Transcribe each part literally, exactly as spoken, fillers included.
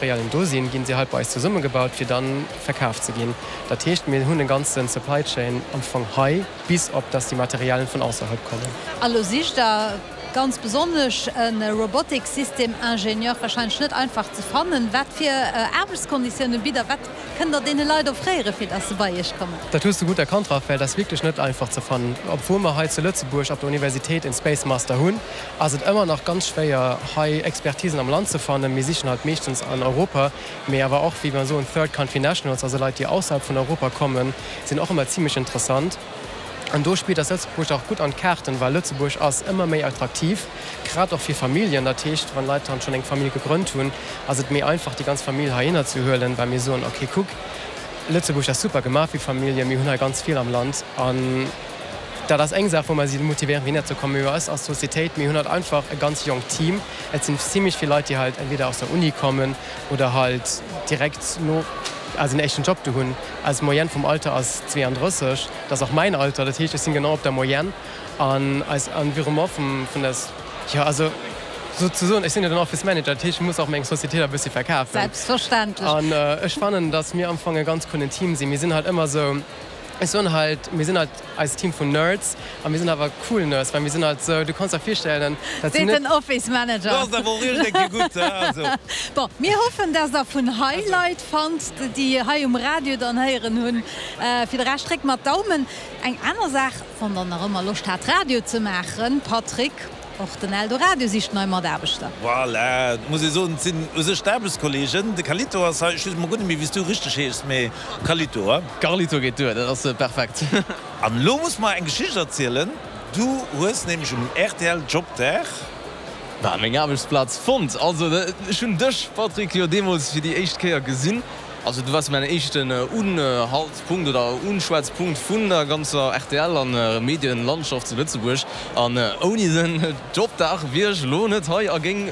Materialien do sinn, ginn se halt bei eis zesummegebaut, fir dann verkaaft ze ginn. Dat heescht, mir hunn e ganze Supply Chain am Fong hei, bis op dass déi Materialien vun ausserhalb kommen. A lo sicht der ganz besonnesch e Robotic System Ingénieur, wahrscheinlech net einfach ze fannen. Wat fir Aarbechtskonditioune bitt der? Wat kënnt der deene Leit offréieren, fir dass se bei iech kommen? Dat hues du gutt erkannt, Raphaël, dat ass wierklech net einfach ze fannen. Obwuel mer hei zu Lëtzebuerg op der Universitéit en Space Master hunn, ass et ëmmer nach ganz schwéier, hei Expertisen am Land ze fannen. Mir sichen halt meeschtens an Europa, mee awer och, wéi mer soen, Third Country Nationals, also Leit, déi ausserhalb vun Europa kommen, sinn och ëmmer zimlech interessant. An do spillt ass Lëtzebuerg och gutt an d'Kaarten, well Lëtzebuerg ass ëmmer méi attraktiv, grad och fir Familljen. Dat heescht, wann Leit dann schonn eng Famill gegrënnt hunn, ass et méi einfach, déi ganz Famill heihinner ze huelen, well mir soen, okay, kuck, Lëtzebuerg ass super gemaach fir Familljen, mir hunn hei ganz vill am Land. An dat ass eng Saach, wou mer si motivéieren, fir hinner ze kommen. Mee eis als Societéit, mir hunn halt einfach e ganz jonkt Team. Et sinn zimlech vill Leit, déi halt entweder aus der Uni kommen oder halt direkt no, also en éischten Job do hunn. Eis Moyenne vum Alter ass zweeandrësseg, dat ass och mäin Alter, dat heescht, ech sinn genau op der Moyenne. An eis Environnement vum, vun der, jo, also souzesoen, ech sinn jo den Office Manager, dat heescht, ech muss och meng Societéit e bëssi verkafen. Selbstverständlech. An ech fannen, datt mir am Fong e ganz coolen Team sinn. Mir sinn halt ëmmer esou, ech soen halt, mir sinn halt eist Team vun Nerds a mir sinn awer cool Nerds, well mir sinn halt esou, du kanns der virstellen, dat sinn Seet net. den Office Manager. Du ass awer och iergend eng Kéier gutt, he, also. Bon, mir hoffen, dass der vun hei Leit fannt, déi hei um Radio dann héieren hunn. Fir de Rescht dréckt mer d'Daumen. Eng aner Saach, wann der nach ëmmer Loscht hat Radio ze maachen, Patrick, och den Eldoradio sicht nei Mataarbechter. Voilà, et muss ee soen, et sinn u sech d'Aarbechtskolleegen. De Carlito ass hei, ech weess emol guer net méi, wéi s du richteg heeschs, mee Carlito, he? Carlito geet duer, dat ass perfekt. An elo muss mer eng Geschicht erzielen. Du hues nämlech um rtl Jobdag. Bah, meng Aarbechtsplaz fonnt. Also, ech hunn dech, Patrick, jo deemools fir déi éischt Kéier gesinn. Also du waars mäin éischten Unhaltspunkt oder Unschwätzpunkt vun der ganzer rtl an Medienlandschaft zu Lëtzebuerg. An ouni den Jobdag wier ech elo net hei a géing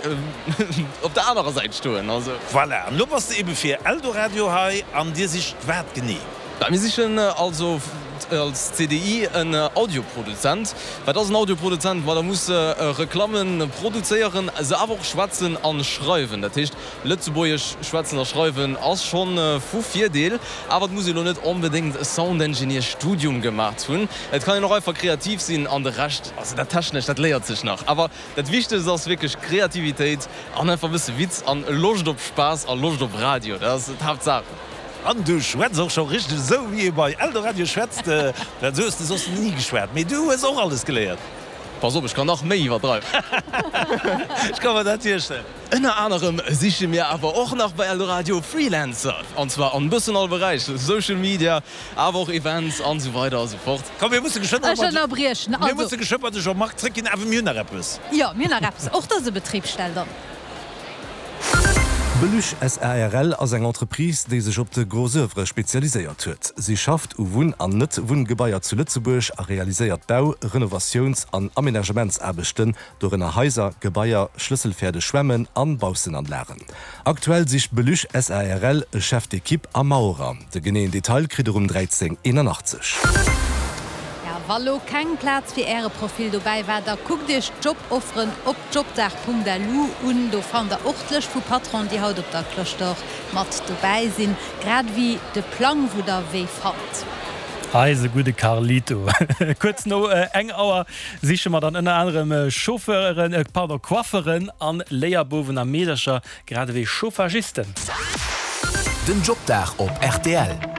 op der anerer Säit stoen. Also. Voilà, an elo bass de ebe fir Eldoradio hei an dir sicht wat genee? Bah, mir sichen also als C D I en Audioproduzent. Wat ass en Audioproduzent? Ma da muss Reklammen produzéieren, se awer och schwätzen an schreiwen. Dat heescht, Lëtzebuergesch schwätzen a schreiwen ass schonn vu Virdeel, awer et muss ee lo net onbedéngt e Sound Engineer Studium gemaacht hunn. Et kann een och einfach kreativ sinn an de Rescht, also dat Technescht, dat léiert sech nach. Awer dat Wichtegst ass wierklech Kreativitéit an einfach e bësse Witz an Loscht op Spaass a Loscht op Radio. Dat ass d'Haaptsaach. An du schwätz och scho richteg esou, wéi ee bei Eldoradio schwätzt. Well esou hues de soss ni geschwat. Mee du hues och alles geléiert. Pass op, ech kann nach méi iwwerdreiwen. Ech ka mer dat virstellen. Ënner anerem siche mir awer och nach bei Eldoradio Freelancer, an zwar an bëssen all Beräich, Social Media, awer och Events an esou weider a sou fort. Komm, mir musse geschwënn Ech ënnerbriechen. mir Also. musse geschwënn bei de Jean-Marc zréckginn, awer mir hunn nach eppes. Jo, mir hunn nach eppes. Och dëse Betrib stellt an. Beluche S A R L ass eng Entreprise, déi sech op de Gros oeuvre spezialiséiert huet. Si schafft u Wunn an Net-Wunngebaier zu Lëtzebuerg a realiséiert Bau-, Renovatiouns an Amenagementsaarbechten, dorënner Haiser, Gebaier, schlësselfäerdeg Schwämmen an Baussenanlagen. Aktuell sicht Beluche S A R L e Chef d'équipe a Maurer. De geneeën Detail kritt der um dräizéng eenanachtzeg. Ja, wa lo keng Plaz fir Äre Profil dobäi war, da kuckt Iech d'Jobofferen op jobdag Punkt L U un. Do fannt der och d'Lëscht vu Patronen, déi haut op der Cloche d'Or mat dobäi sinn, grad ewéi de Plang, wou der wéi fannt. Eise gudde Carlito. Kuerz no eng Auer siche mer dann ënner anerem Chauffeuren, pardon, Coifferen an Léierbouwen a Meedercher, grad ewéi Chauffagisten. Den Jobdag op R T L.